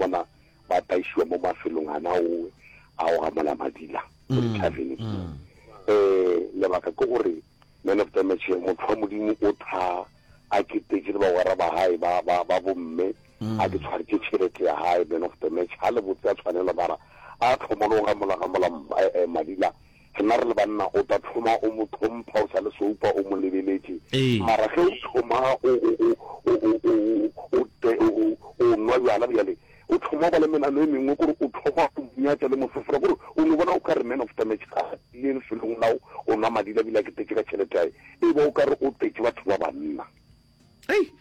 bona ba taišiwa mo mafelong ana owe a go gamola madila mo dithaveneng. Um lebaka ke gore man of the match motho wa Modimo o tha a ketetše le bagwera ba gae ba ba ba bomme a ke tshwaretše tšhelete ya gae man of the match ga le botse a tshwanelo mara a tlhoma le go gamola gamola eh, eh, madila rena re le banna o tla thoma o mo tlhompha o sa le soupa o mo lebeletše mara ge o thoma o o o o o o o o nwa bjala bjale o thoma ba le menano e mengwe kore o thoma o nyatša le mosefora kore o no bona o ka re man of the match ga ile lefelong lao o nwa madila bile a ketetše ka tšhelete yae e ba o ka re o tetše batho ba banna Ei.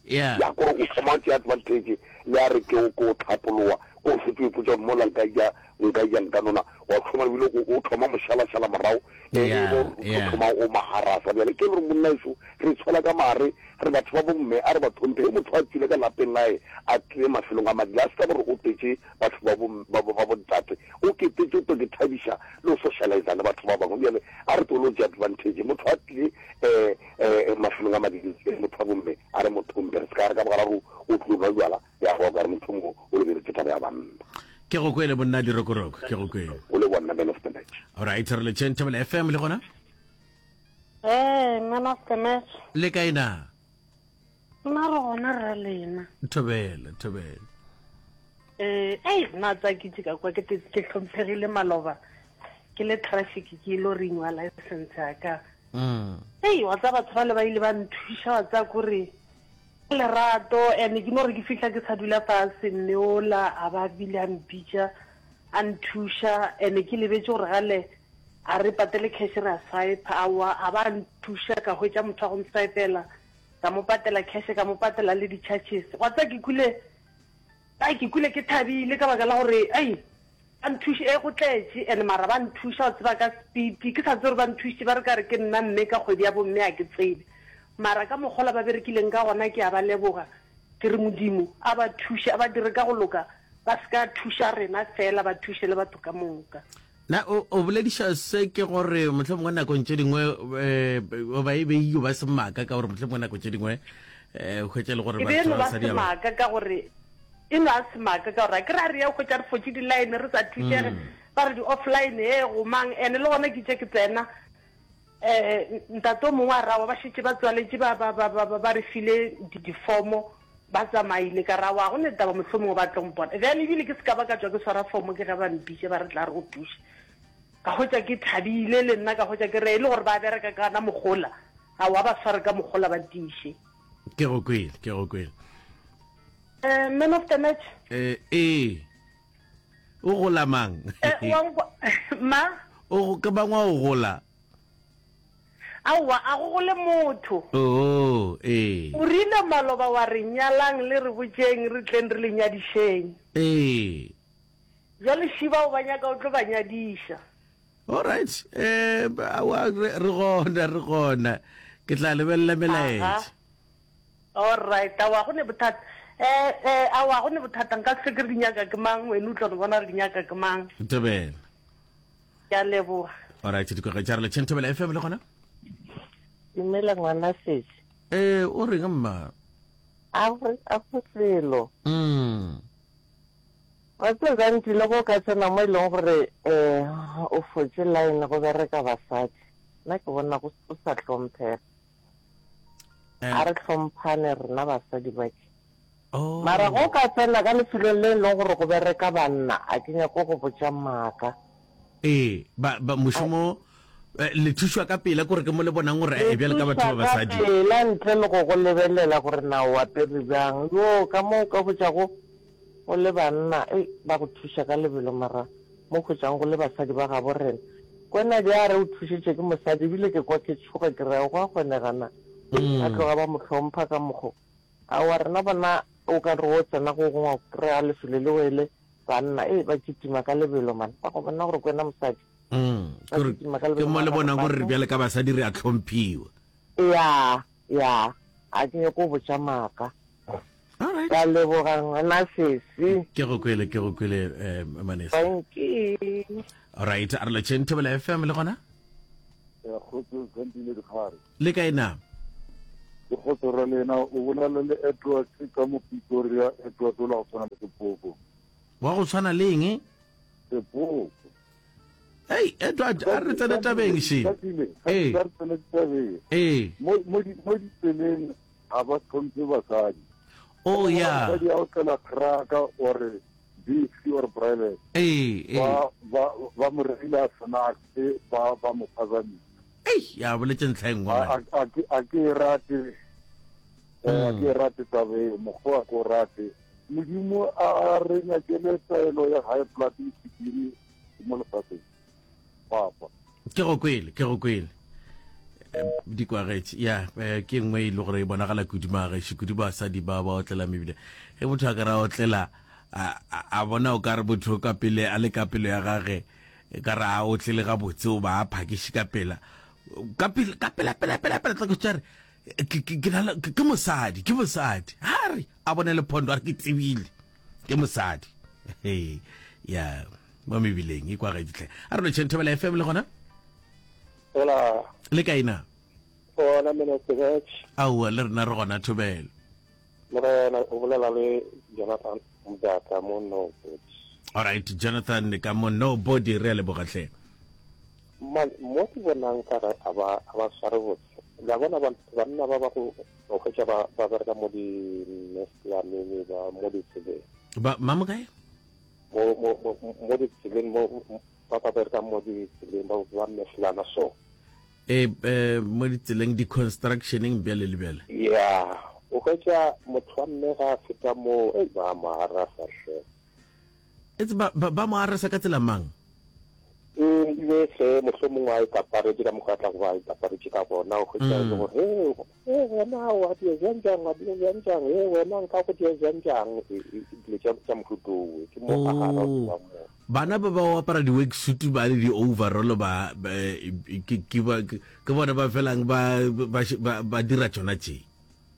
Yeah. Ya kore o thoma tšea advantage le a re ke o ko tlhapoloa ko o šetše o ipotša gore mola nka ja nka ja nka nona wa thoma ebile o o thoma mošalašala morago e e Yeah, bo o yeah. thoma o maharasa bjale ke le gore monna eso re tshwela ka mare re batho ba bomme a re ba tlhomphe ge motho a tswile ka lapeng lae a tlile mafelong a madila a se ka gore o tetše batho ba bo ba bo ba bontate o ketetše o tlo ke thabiša le go socializa le batho ba bangwe bjale a re tlo tšea advantage motho a tlile um um mafelong a madila motho wa bomme a re motho mpe re se ka re ka bogararo o tlo nwa jwala ya go ka re motho mo o lebeletse taba ya banna Ke go kwele monna dirokoroko, ke go kwele. O le bonna man of the match. All right, re le tšheng Thobela FM le gona? Ee, man of the match. Le kae na? Nna re gona rra lena. Thobela, thobela. Eh, ei, nna tsa ke ka kwa ke ke hlomphegile maloba. Ke le traffic ke ile renewa license ya ka. Mm. Ei, wa tsa batho ba le ba ile ba nthuša wa tsa kore lerato and ke no re ke fihla ke sa dula fase mme ola a ba bile a mpitša a nthuša and ke lebetše gore gale a re patele cash re a swipe aowa a ba nthuša ka hwetša motho wa go nswipela ka mo patela cash ka mo patela le di-charges wa tseba ke kwile ai ke kwile ke thabile ka baka la gore ai ba nthuše e go tletše and mara ba nthuša o tseba ka speed ke sa tsebe gore ba nthušitše ba re ka re ke nna mme ka kgwedi ya bomme a ke tsebe mara ka mokgola ba berekileng ka gona ke a ba leboga ke re modimo a ba thuše a ba dire ka go loka ba se ka thuša rena fela ba thuše le batho ka moka Na o, o bolediša se ke gore mohlomongwe nakong tše dingwe um ba e be e yo ba semaka ka gore mohlomongwe nako tše dingwe um hwetša e le gore E be e batho no ba ba basadi ba semaka ka gore e no a semaka ka gore a ke re a re ya hwetša re fotše di-line re sa thušege ba re di-offline e go mang ene le gona ke tše ke tsena um ntate o mongwe a rawa ba šetše ba tswaletše ba, ba, ba, ba, ba, ba re file di-difomo Ba tsamaile, ka re, Aowa, go ne taba, mohlomongwe ba tlo mpona. Bjale ebile ke se ka ba ka tšwa ke swara fomo, ke ge ba mpitša ba re, Tla re go thuše. Ka hwetša ke thabile le nna, ka hwetša ke re, E le gore ba bereka ka gona mogola, aowa, ba sware ka mogola ba tiiše. Ke go kwele, ke go kwele. Eh, man of the match? Eh, ee. O gola mang? Eh, wa nkwa, ma? O, ke mang wa o gola? Aowa, a go gole motho. Oo, ee. O rile maloba wa re nyalang le re botšeng re tleng re le nyadišeng. Ee. Bjale Shiba o ba nyaka o tlo ba nyadiša. All right. Eh, aowa re re gona, re gona. Ke tla lebelela melaetša. All right, aowa go ne bothata. Eh, eh, aowa go ne bothata nka se ke re di nyaka ke mang, wena o tlo no bona re di nyaka ke mang. Thobela. Ke a leboga. Alright, dikoge tša re le Thobela FM le gona. Dumela ngwana sesi. Eh, o reng mma? A go a go selo. Mm. Wa tseba gantsi le go ka tsena mo e leng gore eh o fotse line go bereka basadi. Nna ke bona go o sa hlomphega. Eh. A re hlomphane rena basadi ba ke. Oh. Mara go ka tsena ka lefelong le e leng gore go bereka banna, a ke nyako go botša maaka. Ee, ba, ba, mošomo, eh, le thušwa ka pela, kore ke mo le bonang gore, Le eh, bjale ka batho thušwa ba ka basadi. pela ntle le go go lebelela gore na o apere bjang. Yoo, ka mo o ka hwetšago go le banna, ei, ba go thuša ka lebelo, mara mo hwetšang go le basadi ba gabo rena. Kwena di a re o thušetše ke mosadi, ebile ke kwa ke tšhoga ke re, go a kgonega na? Ba tloga ba mo hlompha ka mokgo. Aowa rena bona o ka re o tsena go gongwe o kry-a lefelo le wele banna ee ba kitima ka lebelo man ba go bona gore kwena mosadi Mm, ba ke gore kitima ka ke lebelo mo le mara bonang gore re batho bjale ka basadi re a tlhomphiwa. ya ya a ke nyako go botša maaka All right. ke a leboga ngwana sesi Ke go kwele, ke go kwele eh Manesa. thank you All right, a re lotšheng Thobela FM le gona? Kgotso Santile Dikgare. Le kae na? Ke kgotso ra lena, o bolela le Edward ka mo Pretoria, Edward o la go tshwana le sepoko. Wa go tshwana le eng? Sepoko. Hey, Edward, a re tsene tabeng she. Ee. A re tsene tabeng. Ee. Mo mo mo ditseleng ga ba tlhomphe basadi. Oh yeah. Basadi a o tlela kraka or BC or private. Ee, ee. Ba ba ba mo reila snacks ba ba mo phazamisa. Ei, ya boletse ntlha e nngwe. A a ke a ke e rate. Eh, a ke e rate taba eo, mokgwa a ke o rate. Modimo a re nyakele taelo ya high blood le sukiri mo lefatsheng. Papa. Ke go kwele, ke go kwele. Eh, di kwagetše ya eh, ke nngwe e le gore e bonagala kudu magageši kudu basadi ba ba otlela mebile ge motho a ka ra otlela a a bona o ka re motho ka pele a le ka pelo ya gage e ka re a otlele gabotse o ba a phakiše ka pela ka pele ka pela pela pela pela tla ke tšare ke ke ke ke mosadi ke mosadi ha re a bone lephondo a re ke tsebile ke mosadi he ya mo mebileng e kwa gaeditlhe a re lotšheng thobela fm le gona Hola. Le kae na? Gona Minister Batch. Aowa le rena re gona thobela. Morena o bolela le Jonathan Mdaka mo Nobody. All right Jonathan ka mo Nobody re a leboga hle. Man mo ke bonang ka re a ba a ba sware botse. La bona ba banna ba ba go o hwetša ba ba bereka mo di nestlaneng ba mo ditseleng. Ba mamo kae? Mo mo mo ditseleng mo ba ba berekang mo ditseleng ba ba mehlana so. E, e mo ditseleng di-constructioneng bjale le bjale. Ya, o hwetša motho wa mme ga a feta moo, ei ba mo arasa hle. Etse ba, ba, ba mo arasa ka tsela mang? E be hle mohlomongwe a ikaparetše ka mokgwa a tla go ba a ikaparetše ka gona, o hwetša e le mm. gore he e wena wa dia jang jang wa dia jang jang e wena nka go dia jang jang e, e, dilo tša mohuto owe ke mo a gara oh. mo Bana ba ba go apara di-worksuit ba le di-overall ba, ba ke, ke, ba, ke bona ba felang ba, ba, ba, ba dira tšona tše.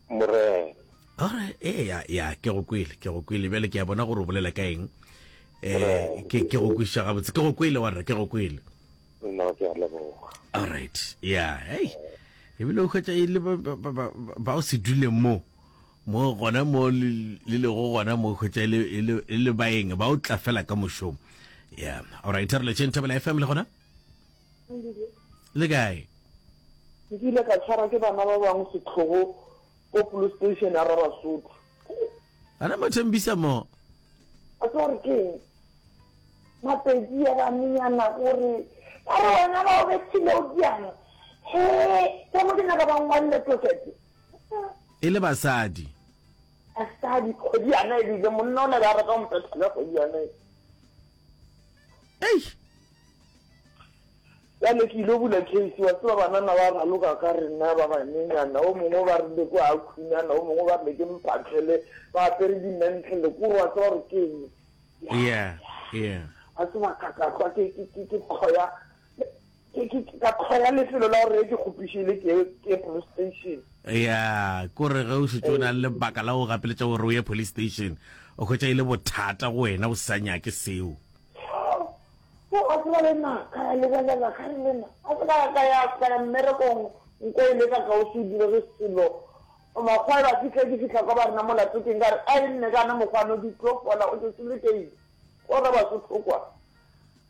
Morena. Alright, ee, ya, ya, ke go kwele, ke go kwele. Bjale ke a bona gore o bolela ka eng. Eh, ke, ke go kwešiša gabotse. Ke go kwele, warra, ke go kwele. No, ke a leboga. Alright, ya, hey. Ebile o hwetša e le ba, ba, ba, ba, ba o se dule mo. Mo gona mo le lego gona mo hwetša e le, e le, e le baeng ba o tla fela ka mošomo. Yeah. All right, re letšeng Thobela FM le gona? Le kae? Nkile ka tshwarwa ke bana ba bangwe setlhogo ko police station ya Rabasotho. Ana mo thembisa mo. A tseba gore ke eng? Mapedi ya banenyana gore ba re wena ba o bethile o diang. He, ka mo ke nyaka ba ngwalele tokete. E le basadi. Basadi, kgwedi yana ebile monna o ne ba rata go mpetha ka kgwedi yana e. Eish. Bjale ke ile bula case, wa tseba banana ba raloka ka rena ba banyenyana, o mongwe ba rile ko a khunana, o mongwe ba rile ke mphatlhele, ba apere di-mantle, kore wa tseba gore ke eng. Yeah, yeah. Wa tseba ka ka hlwa ke ke ke ke tlhoya Ke, ke, ke ka tlhoya lefelo la gore ke kgopišile ke, ke police station. Ya, kore ge o šetše o na le lebaka la go gapeletša gore o ye police station, o hwetša e le bothata go wena o sa nyake seo. Yo, a tseba le nna, ka ya lebelela, ka re le nna, a se ka ka ya, ka ya mmerekong, nko e leka ka o se direge selo. Makgowa ba fihla, ke fihla kwa ba rena molato keng, ka re, ai nne kana mokgwa no di tlo fola, o tšetše le keile. O re Basotho kwa.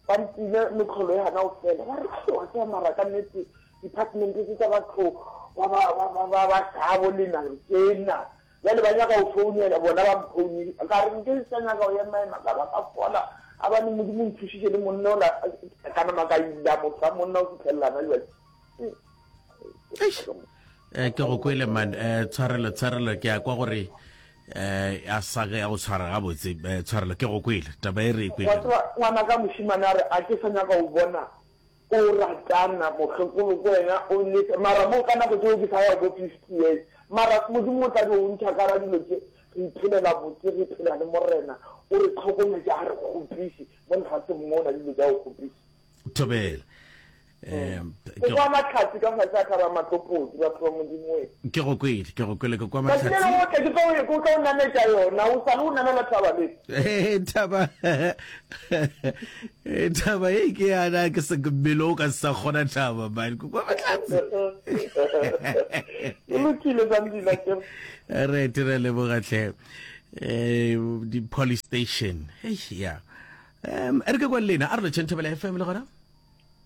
Ba ntile mehlolo e gana go fela. Ba re, Ai, wa tseba mara ka nnete department tse tsa batho ba ba ba ba ba ba sabo lena re tjena. Bjale ba nyaka go founela bona ba mphounile. Ka re nke sa nyaka go ema ema ka ba ka fola. A bane Modimo o nthušitše le monna ola ka nama ka ila motho wa monna o fihlelelana jwale. Eish. Eh, ke go kwele man eh, tshwarelo tshwarelo ke a kwa gore eh a sa ya go tshwara gabotse eh, tshwarelo ke go kwele taba e re e kwele Wa tseba ngwana ka mošemane a re a ke sa nyaka go bona o ratana mokgekolo ko wena o lese mara mo ka nako tšeo ke sa ya bo 50 years mara Modimo o tla di o ntšha ka ra dilo tše re iphelela botse re phela le Morena o re tlhokometše a re kgopiše mo lefaseng mo na dilo tša go kgopiša. Thobela. Um, Ke kwa mahlatse ka fase a thaba matlopodi, batho ba Modimo we. Ke go kwele, ke go kwele, ke kwa Tšatši le mahlatse. lengwe o tle ke tlo ke tlo o nametša yona, o sa le o namela thaba le. Eh, thaba eh, thaba e ke yana ke se mmele o ka se sa kgona thaba man ke kwa mahlatse. E lokile Zandile akere. Re dire leboga hle. Eh, di police station. Hey, yeah. Um, e re ke kwa le lena, a re lotšheng Thobela FM le gona.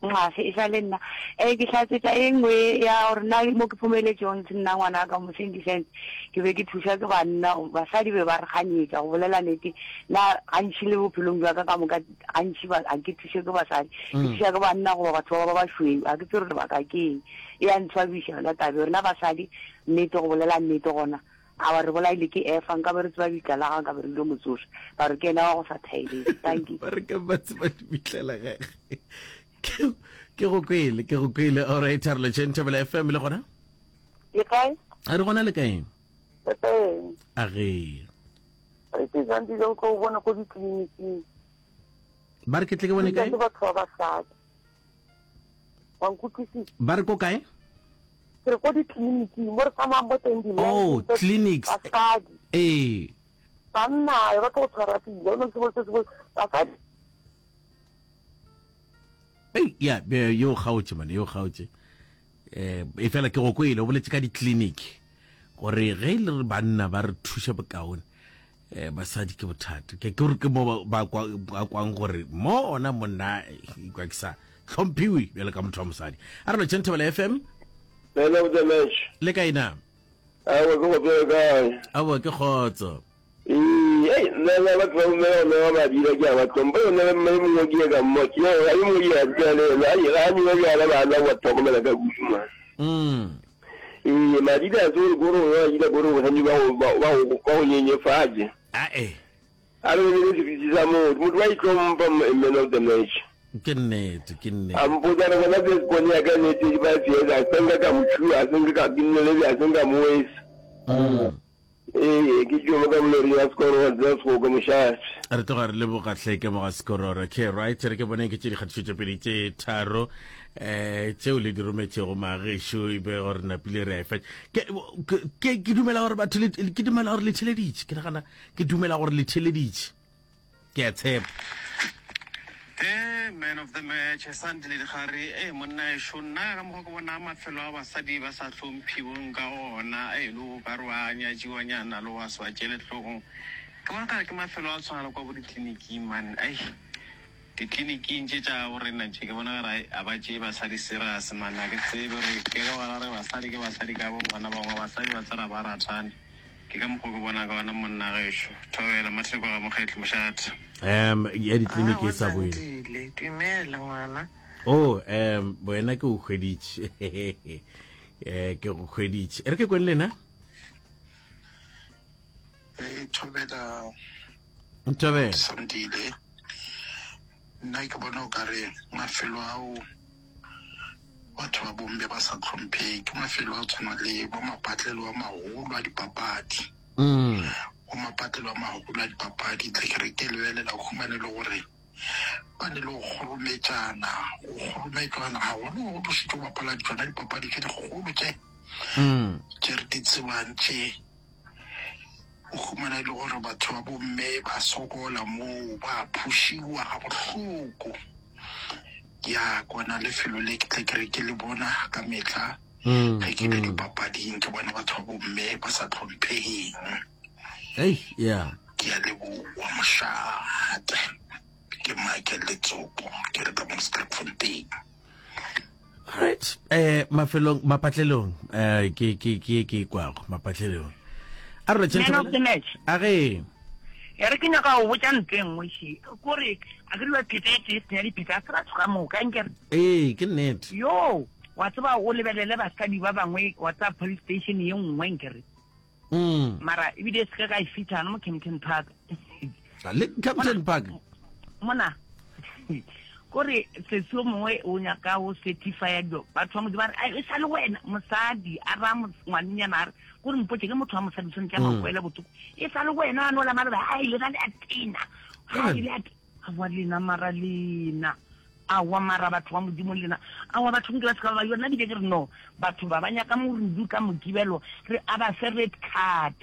Nxa, e sa le nna. E, ke hlatsetša e nngwe ya gore nna mo ke phomeletšego ntse nna ngwana ka mo Sandy Sands, ke be ke thušwa ke banna, basadi be ba re ganyetša, go bolela nete, nna gantši le bophelong bja ka ka moka gantši ba, ga ke thušwe ke basadi, ke thušwa ke banna goba batho ba ba bašweu, ga ke tsebe gore lebaka ke eng. E a ntshwabiša yona taba eo. Rena basadi, nnete, go bolela nnete gona, Awa re bolaile ke Efa, nkabe re tseba bitla la gagwe nkabe re ile mo tsoša. Ba re ke yena wa go sa thaeleng. Dankie. Ba re ka ba tseba lebitla la gagwe. Ke ke go kwele, ke go kwele. All right, re lotšheng Thobela FM le gona? Le kae? A re gona le kae? Le kae? A ge. Re ke Zandile o tlo o bone ko ditleliniking. Ba re ke tle ke bone kae? Ke batho ba basadi. Wa nkutlwisisa? Ba re ko kae? Ke re ko ditleliniking mo re tsamayang mo teng di Oh, clinics. Basadi. Ee. Banna ba tlo go tshwara pila, o ne se se se basadi. Ei, ya, be yo kgaotše man, yo kgaotše. Eh, e fela ke go kwele o boletse ka di-clinic gore ge e le re banna ba re thuša bokaone eh, basadi ke bothata ke gore ke mo ba kwang gore mo ona monna eh, ikwa ke sa hlomphiwe bjalo ka motho wa mosadi a re lotšheng thobela fm Man of the match. Le kae na? Aowa ke go tsebe kae? Aowa ke kgotso. Ee, ei, nna nna batho ba bomme ba go newa madila ke a ba hlompha. Yo nna mme mongwe ke ye ka mmo, ke ye yo mongwe ke a dula le yena. Ai, ga a newe bjala ba nwa wa tlhokomela ka kudu man. Mm. Ee, madila a se gore kore o nwa madila kore bosadi ba go ba ba go ba go nyenyefatše. Ae. A re lebelele seriti sa motho, motho wa itlhompha man of the match. Ke nnete, ke nnete. A mpotsa re bona first born ya ka ne 35 years, a se nka ka mo tšhua, a se nka ka ke nnele a se nka mo wesa. Mm. Ee, ke tšo ka molori ya Sekororo, tsela Segoke mošate. Re tloga re leboga hle ke moga Sekororo. Okay, right, re ke boneng ke tše dikgatišo tše pedi tše tharo eh tšeo le di rometšego magešo e be gore napile re a e fetša. Ke ke ke dumela gore batho le ke dumela gore le theleditše. Ke nagana ke dumela gore le theleditše. Ke a tshepa. Ee, man of the match, Sandile Dikgare. Ee, monna ešo, nna ka mokgwa ke bona mafelo a basadi ba sa hlomphiweng ka ona, ee, le o ka re wa nyatšiwanyana le wa se wa tšeele hlogong. Ke bona kare ke mafelo a tshwana le kwa bo ditleliniking man, ai, ditleliniking tše tša bo rena tše, ke bona kare ai, a ba tšee basadi serious man, a ke tsebe gore ke ka baka la gore basadi ke basadi ka bo bona, bangwe basadi ba tsena ba rathane. Ke ka mokgwa ke bona ka gona monna gešo. Thobela, Matheko ga Mokgetli, mošate. Um ya ditleliniki e sa boele. Zandile, dumela ngwana. Oh, um wena ke o hweditše. Eh, ke go hweditše. E re ke kweng lena. Ee, thobela. Thobela. Sandile. Nna ke bona o kare mafelo ao batho ba bomme ba sa tlhompheng ke mafelo a tshwana le bo mapatlelo a magolo a dipapadi. Mm. Bo mapatlelo a magolo a dipapadi tle ke re ke lebelela o humane le gore ba ne le go kgorometšana, go kgorometšwana gagolo go šetše go bapala tšona dipapadi tše dikgolo tše Mm. tše re di tsebang tše. O humana e le gore batho ba bomme ba sokola moo, ba phušiwa gabohloko. Ya kona lefelo le ke tle ke re ke le bona ka mehla ge ke ile dipapading, ke bona batho ba bomme ba sa hlomphegeng. Ei, ya. Ke a leboa mošate. Ke Michael Letsopo, ke re ka mo Sterkfontein. Right. Eh mafelong mapatlelong eh ke ke ke ke kwago mapatlelong. A re Man of the match. A ge. Ya re ke nyaka go botša ntho e nngwe še. Kore a ke dula pheta e tee senya dipheta a se batho ka moka nkere. Ee, ke nnete. Yo, wa tseba o lebelele basadi ba bangwe wa tseba police station ye nngwe nkere. Mm. Mara ebile se ka ka e fitlha mo Kempton Park. Le Kempton Park. Mona. Kore sesi o mongwe o nyaka o certifya dilo batho ba modimo ba re e sa le wena mosadi a ra ngwanenyana a re kore mpotse ke motho wa mosadi tshwanetse a mm. makwele botlhoko e sa le wena a nola maloba a ile na le a tena ga ile a boa lena mara lena. Aowa mara batho ba Modimo lena, aowa batho nke ba se ka ba ba yona bile ke re no, batho ba ba nyaka morudu ka Mokibelo re a ba fe red card.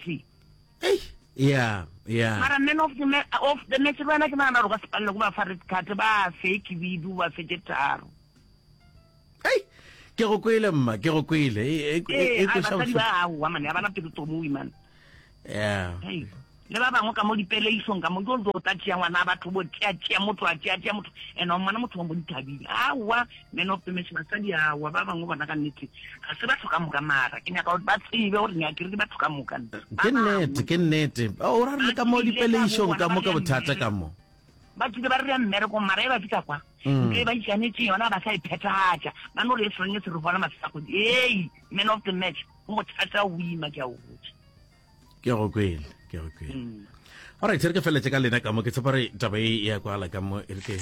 Ei, yeah, yeah. Mara man of the, of the match le wena ke nagana gore o ka se palelwe ko ba fa red card, ba fe khibidu, ba fe tše tharo. Ei, ke go kwele mma, ke go kwele. E, e, e, Ee, e ai kweša basadi bohloko. ba aowa mane, ga ba na pelo tomowi mane. Yeah. Hei, le ba bangwe ka mo dipeleišong ka mo ke o tla tšea ngwana a batho bo tšea tšea motho a tšea tšea motho ene o mmona motho wa mo dithabile aowa man of the match basadi aowa ba bangwe bona ka nnete ga se batho ka moka mara ke nyaka gore ba tsebe gore nyake re ke batho ka moka Ke nnete, ke nnete. O ra re le ka mo dipeleišong ka mo ka bothata ka mo. Ba tsile ba re re ya mmerekong mara e ba fihla kwa ntlo e ba ikanetše yona ba sa e phethagatša ba no re e sreng e se re bona mafela kgwedi ei man of the match go bothata o ima ke a o botša. Ke go kwele, ke go kwele. Mm. Alright, re ke feletse ka lena ka mo ke tshepa re taba e ya kwala ka mo e re ke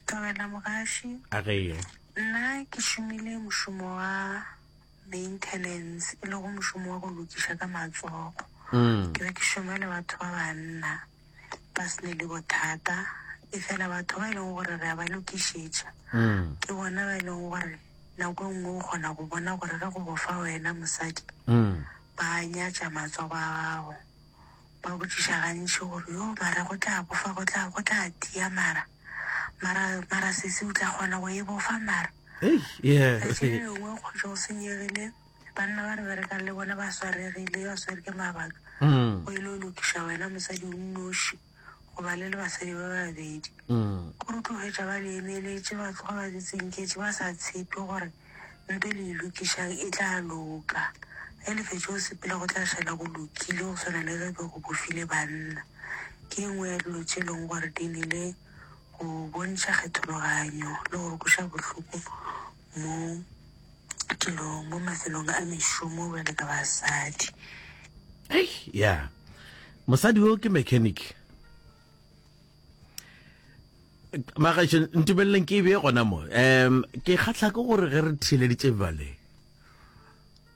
Thobela mogaši. A ge. Nna ke šomile mošomo wa maintenance e lego mošomo wa go lokiša ka matsogo. Mm. Ke be ke šoma le batho ba banna ba se ne le bothata efela batho ba e leng gore re a ba lokišetša mm. ke bona ba e leng gore Nako e nngwe o kgona go bona gore ge go bofa wena mosadi, ba nyatša matsogo a gago. Ba botšiša gantši gore, Yo, mara go tla bofa, go tla, go tla tia mara. Mara, mara sesi o tla kgona go e bofa mara? Letšatši le lengwe o kgotše go senyegile, banna ba re berekang le bona ba swaregile, ba swere ke mabaka, o ile o lokiša wena mosadi o nnoši. Goba le le basadi ba babedi. Gore o tlo hwetša ba le emeletše, ba tloga ba le tsinketše, ba sa tshepe gore nto e le e lokišang e tla loka. Ge le fetša go sepela go tla šala go lokile go swana le ge be go bofile banna. Ke e nngwe ya dilo tše e leng gore di nile go bontšha kgethologanyo le go re kweša bohloko mo dilong, mo mafelong a mešomo bjale ka basadi. Hei, ya. Mosadi wo ke mechanic. Magašo, ntumeleleng ke e bee gona mo. Um, ke kgahla ke gore ge re theeleditše bale,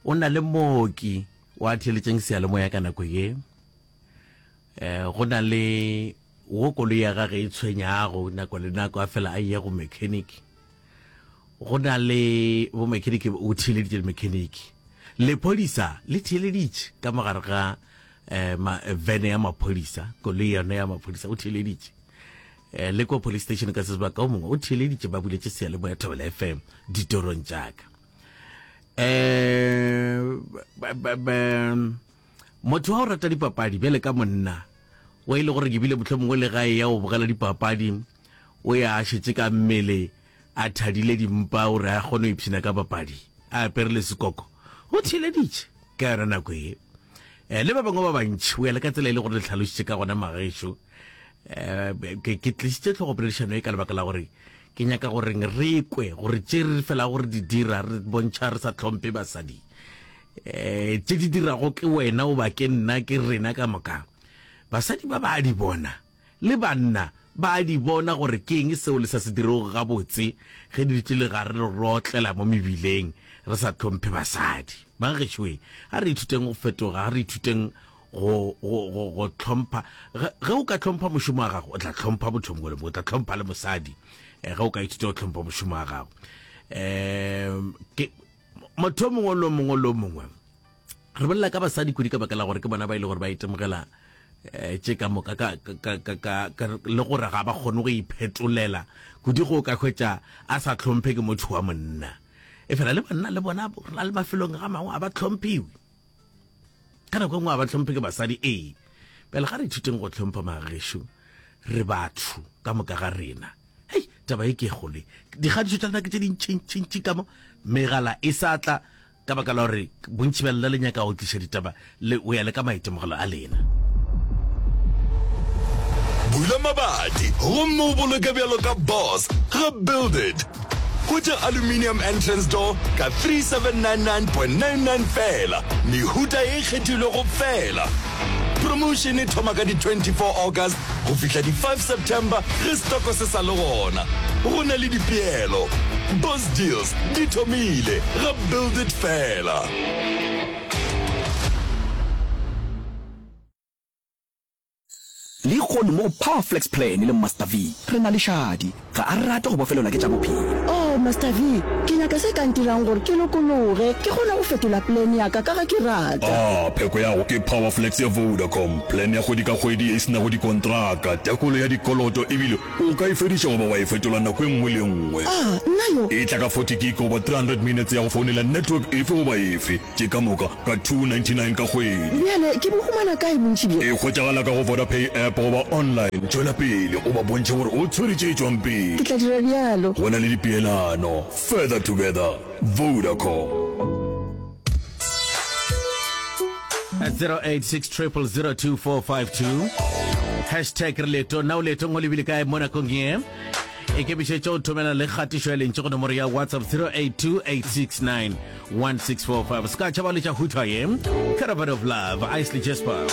o na le mooki wa theeletšeng seyalemoya ka nako ye. Eh, go na le wo koloi ya gage e tshwenyago nako le nako a fela a ye go mechanic. Go na le bo mechanic o theeleditše le mechanic. Lephodisa le theeleditše ka mogare ga eh, ma, vene ya maphodisa, koloi yone ya maphodisa o theeleditše. Eh, le kwa police station ka se sebaka o mongwe o theeleditše ba buletše seyalemoya Thobela FM ditorong tša ka. Eh, ba, ba, ba, motho wa go rata dipapadi bjale ka monna o e le gore ke bile mohlomongwe le gae ya go bogela dipapadi o ya a šetše ka mmele a thadile dimpa gore a kgone go ipshina ka papadi a apere le sekoko o theeleditše ka yona nako ye um le ba bangwe ba bantši o ya le ka tsela e le gore le tlhalošitše ka gona magešo um ke ke tlišitše tlhogopoledišano e ka lebaka la gore ke nyaka goreng re kwe gore tše re fela gore di dira re bontšha re sa tlhomphe basadi um tše di dirago ke wena goba ke nna ke rena ka moka basadi ba ba di bona le banna ba a di bona gore ke eng seo le sa se dirego gabotse ge di dutše le gare re rotlela mo mebileng re sa tlhomphe basadi. Bangešoe, a re ithuteng go fetoga, a re ithuteng go, go, go, go tlhompha. Ge, ge o ka tlhompha mošomo wa gago, o tla tlhompha motho mongwe le mongwe, o tla tlhompha le mosadi eh, ge o ka ithuta go tlhompha mošomo wa gago. Um, ke, motho o mongwe le o mongwe le o mongwe re bolela ka basadi kudu ka baka la gore ke bona ba ile gore ba itemogela um tše ka moka ka, ka, ka, ka, ka, le gore ga ba kgone go iphetolela kudu go ka hwetša a sa tlhomphe ke motho wa monna e fela le banna le bona re na le mafelong ga mangwe a ba tlhomphiwe ka nako e nngwe a ba tlhomphe ke basadi ee bjale ga re ithuteng go tlhompha magešo re batho ka moka ga rena hei taba e ke e gole dikgadišo tša lena ke tše dintšintšintši ka mo megala e sa tla Ka baka la gore bontši bja lena le nyaka go tliša ditaba le go ya le ka maitemogelo a lena. Bula mabati gomme o boloke bjalo ka boss ga Build It. Hwetša aluminium entrance door ka 3799.99 feela, mehuta e kgethilwego feela. Promotion e thoma ka di 24 August go fihla di 5 September ge stoko se sa le gona. Go na le dipeelo. Boss Deals di thomile ga Build It fela. Le. Lehono mo go Power Flex Plan le Master V, re na le Shadi. Ga a rate go bofelelwa ke tša bophelo. Oh, Master V, ke nyaka se ka ntirang gore ke lokologe, ke kgone go fetola plan ya ka ka ga ke rata. Ah, pheko ya go ke Power Flex ya Vodacom, plan ya kgwedi ka kgwedi ye e se nago dikontraka, tekolo ya dikoloto ebile o ka e fediša goba wa e fetola nako e nngwe le e nngwe. Ah, nna yo. E tla ka 40 gig goba 300 minutes ya go founela network efe goba efe. Tše ka moka ka 299 ka kgwedi. Bjale ke bo humana kae bontši bjo? E hwetšagala ka go Vodapay app goba online. Tšwela pele o ba bontšhe gore o tshwere tše tšwang pele. Ke tla dira bjalo. Go na le dipeelano. Further together. Vodacom. 0860002452 hashtag re leetong na o leetong o lebile kae mo nakong ye Ikemišetše go thomela le kgatišo ya lentšu go nomoro ya WhatsApp 0828691645. Se ka tšhaba letša hutha ye. Caravan of Love, Isley Jasper.